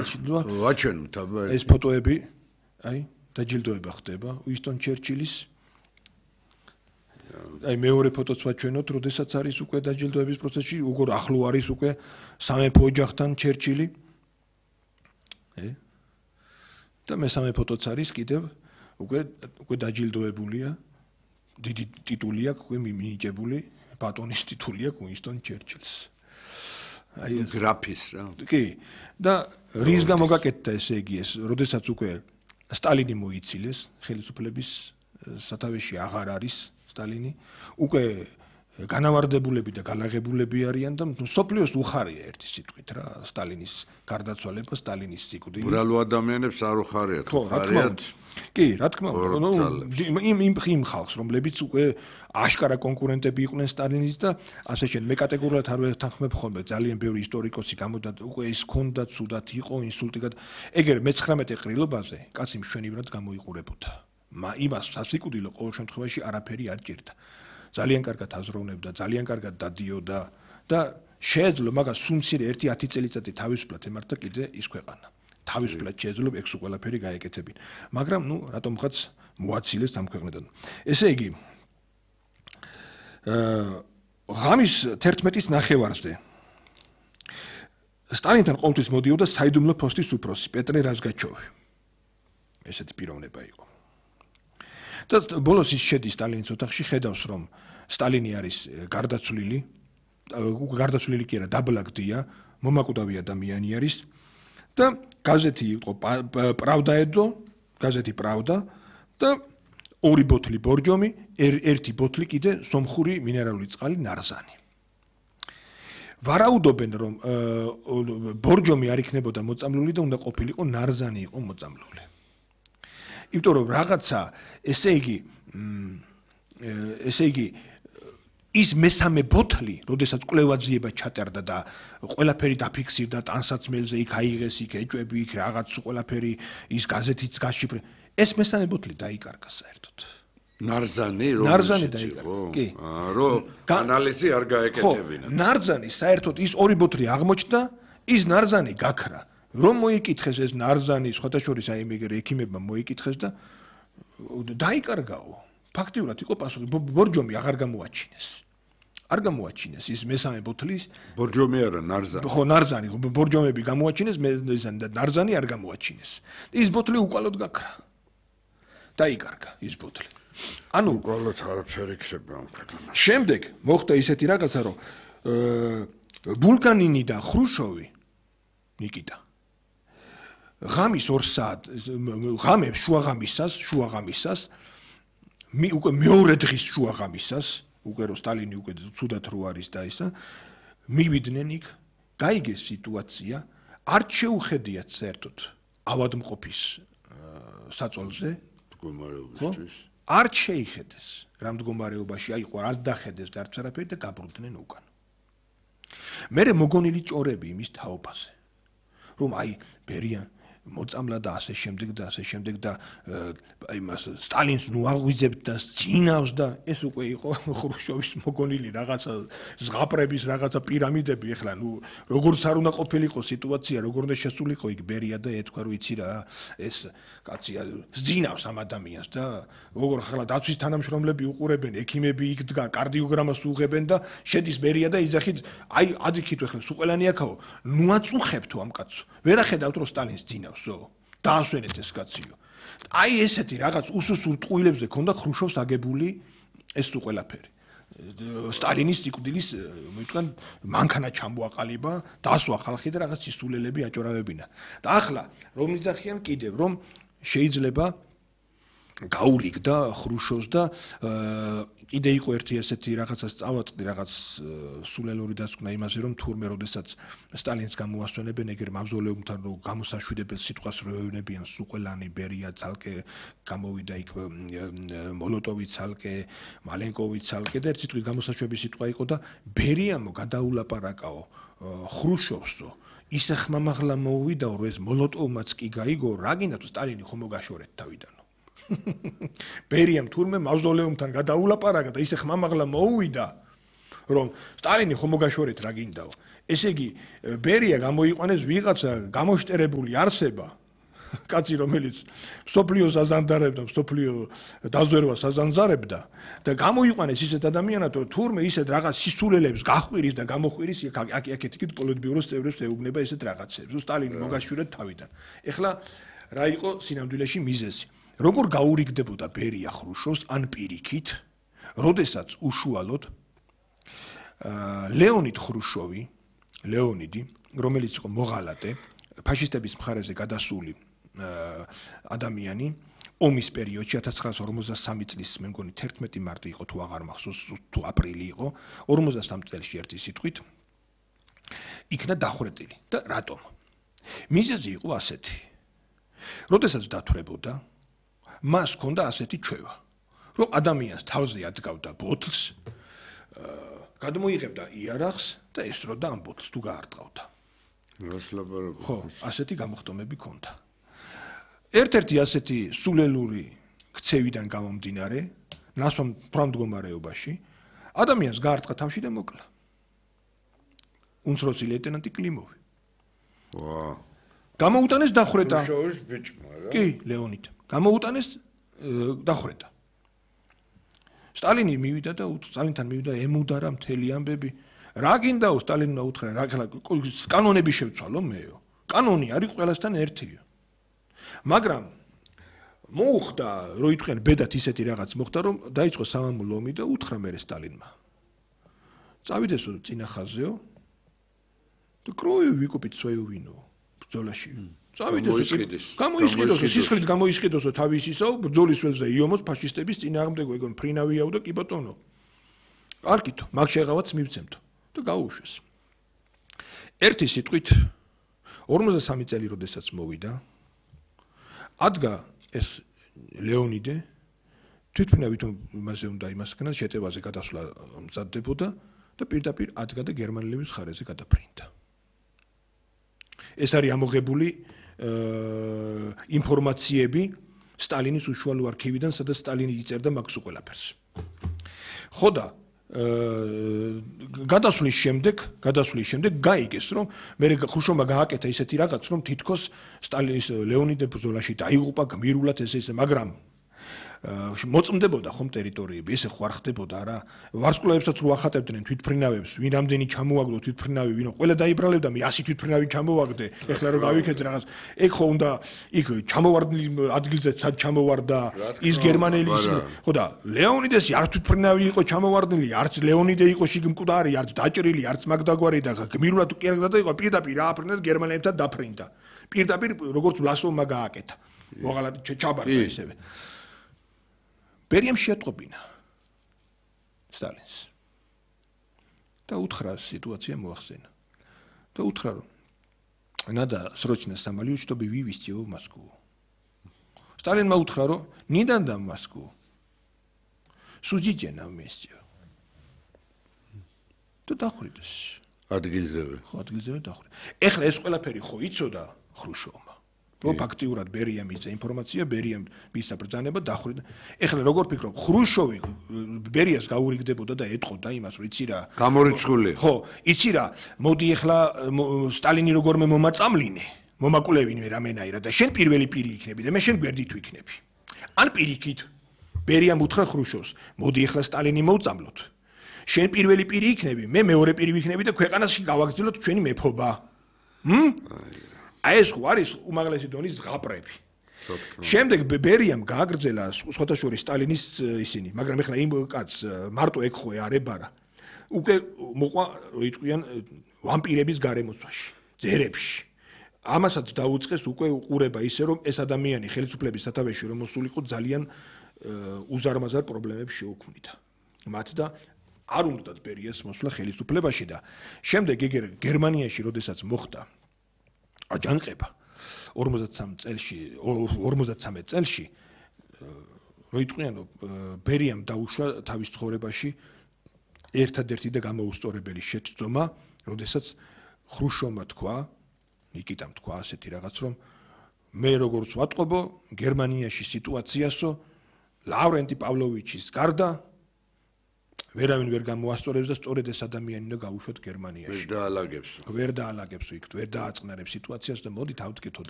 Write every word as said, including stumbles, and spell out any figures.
გააჩნდა. ვაჩვენოთ აბა ეს ფოტოები, აი, დაჯილდოება ხდება უინსტონ ჩერჩილის. აი მეორე ფოტოც ვაჩვენოთ, როდესაც არის უკვე დაჯილდოების პროცესში, უგორ ახლო არის უკვე სამეფო ოჯახთან ჩერჩილი. ე? და მესამე ფოტოც არის კიდევ უკვე უკვე დაჯილდოებულია. დიდი ტიტული აქვს უკვე მინიჭებული, ბატონის ტიტული აქვს უინსტონ ჩერჩილს. აი ეს გრაფის რა. კი. და რის გამო გაკეთდა ესე იგი ეს, როდესაც უკვე სტალინი მოიცილეს, ხელისუფლების სათავეში აღარ არის სტალინი, უკვე განავარდებულები და განაღებულები არიან და სოფლიოს უხარია ერთი სიტყვით რა, სტალინის გარდაცვალება, სტალინის სიკვდილი. ბრალო ადამიანებს არ უხარიათ, უხარიათ. კი, რა თქმა უნდა, იმ იმ იმ ხალხს, რომლებიც უკვე აშკარა კონკურენტები იყვნენ სტალინის და ასე შენ მე კატეგორიულად არ ვეთანხმებ ხოლმე, ძალიან ბევრი ისტორიკოსი გამოდა უკვე ის ქონდა ცუდად იყო ინსულტი გად ეგერ მეცხრამეტე ყრილობაზე კაცი მშვენივრად გამოიყურებოდა. მა იმას სასიკვდილო ყოველ შემთხვევაში არაფერი არ ჭირდა. ძალიან კარგად აზროვნებდა, ძალიან კარგად დადიოდა და შეეძლო მაგას სულ მცირე ერთი ათი წელიწადი თავისუფლად ემართა კიდე ის ქვეყანა. თავისუფლად შეეძლო ეგ სულ ყველაფერი გაეკეთებინ. მაგრამ ნუ რატომღაც მოაცილეს ამ ქვეყნიდან. ესე იგი აა ღამის თერთმეტის ნახევარზე სტალინთან ყოველთვის მოდიოდა საიდუმლო პოსტის უფროსი პეტრე რაზგაჩოვი. ესეთი პიროვნება იყო. და ბოლოს ის შედის სტალინის ოთახში, ხედავს რომ სტალინი არის გარდაცვლილი, გარდაცვლილი კი არა, დაბლაგდია, მომაკვდავი ადამიანი არის და გაზეთი იყო პრავდა ედო, გაზეთი პრავდა და ორი ბოთლი ბორჯომი, ერთი ბოთლი კიდე სომხური მინერალური წყალი ნარზანი. ვარაუდობენ რომ ბორჯომი არ იქნებოდა მოწამლული და უნდა ყოფილიყო ნარზანი იყო მოწამლული. იმიტომ რომ რაღაცა ესე იგი ესე იგი ის მესამე ბოთლი, როდესაც კვლევაძიება ჩატარდა და ყველაფერი დაფიქსირდა ტანსაცმელზე, იქ აიღეს, იქ ეჭვები, იქ რაღაც ყველაფერი ის გაზეთიც გაშიფრე. ეს მესამე ბოთლი დაიკარგა საერთოდ. ნარზანი რომ ნარზანი დაიკარგა. კი. აა რომ ანალიზი არ გაეკეთებინა. ნარზანი საერთოდ ის ორი ბოთლი აღმოჩნდა, ის ნარზანი გაქრა. რომ მოიკითხეს ეს ნარზანი, სხვათა შორის აი მე ექიმებმა მოიკითხეს და დაიკარგაო. ფაქტიურად იყო პასუხი, ბორჯომი აღარ გამოაჩინეს. არ გამოაჩინეს ის მესამე ბოთლის ბორჯომი არა, ნარზანი. ხო, ნარზანი, ბორჯომები გამოაჩინეს, ნარზანი არ გამოაჩინეს. ის ბოთლი უკვალოდ გაქრა. დაიკარგა ის ბოთლი. ანუ უკვალოდ არაფერი იქნება ამ ქვეყანაში. შემდეგ მოხდა ისეთი რაღაცა, რომ ბულგანინი და ხრუშოვი ნიკიტა ღამის ორ საათ ღამებს შუაღამისას შუაღამისას მე უკვე მეორე დღის შუაღამისას უკვე რო სტალინი უკვე ცუდად რო არის და ისა მივიდნენ იქ გაიგეს სიტუაცია არ შეუხედიათ საერთოდ ავადმყოფის საწოლზე მდგომარეობისთვის არ შეიხედეს რა მდგომარეობაში აიყო არ დახედეს და არც არაფერი და გაბრუნდნენ უკან მერე მოგონილი ჭორები იმის თაობაზე რომ აი ბერიან მოწამლა და ასე შემდეგ და ასე შემდეგ და აი მას სტალინს ნუ აღვიძებთ და წინავს და ეს უკვე იყო ხრუშჩოვის მოგონილი რაღაცა ზღაპრების რაღაცა პირამიდები ეხლა ნუ როგორც არ უნდა ყოფილიყო სიტუაცია როგორ უნდა შესულიყო იქ ბერია და ეთქვა რომ იცი რა ეს კაცია ზინავს ამ ადამიანს და როგორ ახლა დაცვის თანამშრომლები უყურებენ ექიმები იქ დგა კარდიოგრამას უღებენ და შედის ბერია და იძახით აი ადიქით ეხლა სულ ყველანი აქაო ნუ აწუხებთო ამ კაცო ვერ ახედავთ რომ სტალინს ძინავს დაასვენეთ ეს კაციო. აი ესეთი რაღაც უსუსურ ტყუილებზე ქონდა ხრუშოვს აგებული ეს თუ ყველაფერი. სტალინის სიკვდილის მოიტყვან მანქანა ჩამოაყალიბა, დასვა ხალხი და რაღაც სისულელები აჭორავებინა. და ახლა რომ იძახიან კიდევ რომ შეიძლება გაურიგდა ხრუშოვს და კიდე იყო ერთი ასეთი რაღაცა სწავლა რაღაც სულელური დასკვნა იმაზე რომ თურმე როდესაც სტალინს გამოასვენებენ ეგერ მავზოლეუმთან რომ გამოსაშვიდებელ სიტყვას როევნებიან სუყელანი ბერია ცალკე გამოვიდა იქ მოლოტოვი ცალკე მალენკოვი ცალკე და ერთ სიტყვით გამოსაშვების სიტყვა იყო და ბერიამო გადაულაპარაკაო ხრუშოვსო ისე ხმამაღლა მოუვიდაო რომ ეს მოლოტოვმაც კი გაიგო რა გინდა თუ სტალინი ხომ მოგაშორეთ თავიდან ბერიამ თურმე მავზოლეუმთან გადაულაპარაკა და ისე ხმამაღლა მოუვიდა რომ სტალინი ხომ მოგაშორეთ რა გინდაო ესე იგი, ბერია გამოიყვანეს ვიღაცა გამოშტერებული არსება, კაცი რომელიც სოფლიოს აზანძარებდა, სოფლიო დაზვერვას აზანძარებდა და გამოიყვანეს ისეთ ადამიანად, რომ თურმე ისეთ რაღაც სისულელებს გახვირის და გამოხვირის აქ-აქეთ იქით პოლიტბიუროს წევრებს ეუბნება ესეთ რაღაცებს. სტალინი მოგაშურეთ თავიდან. ეხლა რა იყო სინამდვილეში მიზეზი? როგორ გაურიგდებოდა ბერია ხრუშოვს ან პირიქით, როდესაც უშუალოდ ლეონიდ ხრუშოვი, ლეონიდი, რომელიც იყო მოღალატე, ფაშისტების მხარეზე გადასული ადამიანი, ომის პერიოდში ათას ცხრაასი ორმოცდასამი წლის მე მგონი თერთმეტი მარტი იყო თუ აღარ მახსოვს თუ აპრილი იყო, ორმოცდასამ წელში ერთი სიტყვით იქნა დახვრეტილი და რატომ? მიზეზი იყო ასეთი. როდესაც დათვრებოდა, მას ჰქონდა ასეთი ჩვევა, რომ ადამიანს თავზე ადგავდა ბოთლს, გადმოიღებდა იარაღს და ესროდა ამ ბოთლს თუ გაარტყავდა. ხო, ასეთი გამოხდომები ჰქონდა. ერთ-ერთი ასეთი სულელური ქცევიდან გამომდინარე, ნასვამ მდგომარეობაში, ადამიანს გაარტყა თავში და მოკლა. უმცროსი ლეიტენანტი კლიმოვი. ვა. გამოუტანეს დახვრეტა. უშოვის ბიჭმა რა. კი, ლეონიდ. გამოუტანეს დახვრეტა. სტალინი მივიდა და სტალინთან მივიდა ემუდარა მთელი ამბები. რა გინდაო სტალინმა უთხრა, რა კანონები შევცვალო მეო. კანონი არის ყველასთან ერთიო. მაგრამ მოუხდა, რომ იტყვიან ბედათ ისეთი რაღაც მოხდა, რომ დაიწყო სამამულო ომი და უთხრა მერე სტალინმა. წავიდესო წინა ხაზეო და კროევი ვიკუპით свою ვინო ბრძოლაში. წავიდესო, გამოისყიდოსო, სისხლით გამოისყიდოსო თავის ისო, ბრძოლის ველზე იომოს ფაშისტების წინააღმდეგო ეგონ ფრინავიაო და კი ბატონო. კარგითო, მაგ შეღავაც მივცემთო და გაუშვეს. ერთი სიტყვით ორმოცდასამი წელი როდესაც მოვიდა, ადგა ეს ლეონიდე თვითმფრინავით იმაზე უნდა იმასკნა შეტევაზე გადასვლა მზადდებოდა და პირდაპირ ადგა და გერმანელების მხარეზე გადაფრინდა. ეს არის ამოღებული ინფორმაციები სტალინის უშუალო არქივიდან, სადაც სტალინი იწერდა მაგ ყველაფერს. ხო და გადასვლის შემდეგ, გადასვლის შემდეგ გაიგეს, რომ მე ხრუშოვმა გააკეთა ისეთი რაღაც, რომ თითქოს სტალინის ლეონიდე ბრძოლაში დაიღუპა გმირულად ესე ესე, მაგრამ მოწმდებოდა ხომ ტერიტორიები, ესე ხო არ ხდებოდა რა. ვარსკვლავებსაც რო ახატებდნენ თვითფრინავებს, ვინ ამდენი ჩამოაგდო თვითფრინავი, ვინო ყველა დაიბრალებდა, მე ასი თვითფრინავი ჩამოვაგდე, ეხლა რომ გავიქეთ რაღაც. ეგ ხო უნდა იქ ჩამოვარდნი ადგილზე სად ჩამოვარდა ის გერმანელი ის. ხო და ლეონიდეს არ თვითფრინავი იყო ჩამოვარდნილი, არც ლეონიდე იყო შიგმკვდარი, არც დაჭრილი, არც მაგდაგვარი და გმირულად კი არ გადაიყო, პირდაპირ ააფრინდა გერმანელებთან დაფრინდა. პირდაპირ როგორც ვლასოვმა გააკეთა. მოღალატე ჩაბარდა ისევე. ბერიამ შეატყობინა სტალინს და უთხრა სიტუაცია მოახსენა და უთხრა რომ надо срочно самолет чтобы вывести его в Москву. Сталинმა უთხრა რომ не дам в Москву. Судите на месте. და დახვრიტეს. ადგილზევე. ხო, ადგილზევე დახვრიტეს. ეხლა ეს ყველაფერი ხო იცოდა ხრუშოვმა. რომ ფაქტიურად ბერიამ მისცა ინფორმაცია, ბერიამ მისცა ბრძანება დახვრიტა. ეხლა როგორ ფიქრობ, ხრუშოვი ბერიას გაურიგდებოდა და ეტყოდა იმას, რომ იცი რა. გამორიცხული. ხო, იცი რა, მოდი ეხლა სტალინი როგორმე მომაწამლინე, მომაკულევინე რამენაირად და შენ პირველი პირი იქნები და მე შენ გვერდით ვიქნები. ან პირიქით ბერიამ უთხრა ხრუშოვს, მოდი ეხლა სტალინი მოვწამლოთ. შენ პირველი პირი იქნები, მე მეორე პირი ვიქნები და ქვეყანაში გავაგრძელოთ ჩვენი მეფობა. ჰმ? აი ეს ხო არის უმაღლესი დონის ზღაპრები. შემდეგ ბერიამ გააგრძელა სხვათა შორის სტალინის ისინი, მაგრამ ეხლა იმ კაც მარტო ეგ ხო არებარა. უკვე მოყვა იტყვიან ვამპირების გარემოცვაში, ძერებში. ამასაც დაუწყეს უკვე უყურება ისე რომ ეს ადამიანი ხელისუფლების სათავეში რომ მოსულიყო ძალიან უზარმაზარ პრობლემებს შეუქმნიდა. მათ და არ უნდათ ბერიას მოსვლა ხელისუფლებაში და შემდეგ ეგ გერმანიაში როდესაც მოხდა აჯანყება ორმოცდასამ წელში ორმოცდასამი წელში რო იტყვიან ბერიამ დაუშვა თავის ცხოვრებაში ერთადერთი და გამოუსწორებელი შეცდომა, როდესაც ხრუშოვმა თქვა, ნიკიტამ თქვა ასეთი რაღაც, რომ მე როგორც ვატყობო გერმანიაში სიტუაციასო, ლავრენტი პავლოვიჩის გარდა ვერავინ ვერ გამოასწორებს და სწორედ ეს ადამიანი უნდა გაუშვათ ვერ გერმანიაში. დაალაგებს. ვერ დაალაგებს იქ, ვერ დააწყნარებს სიტუაციას და მოდით ავტკითხო და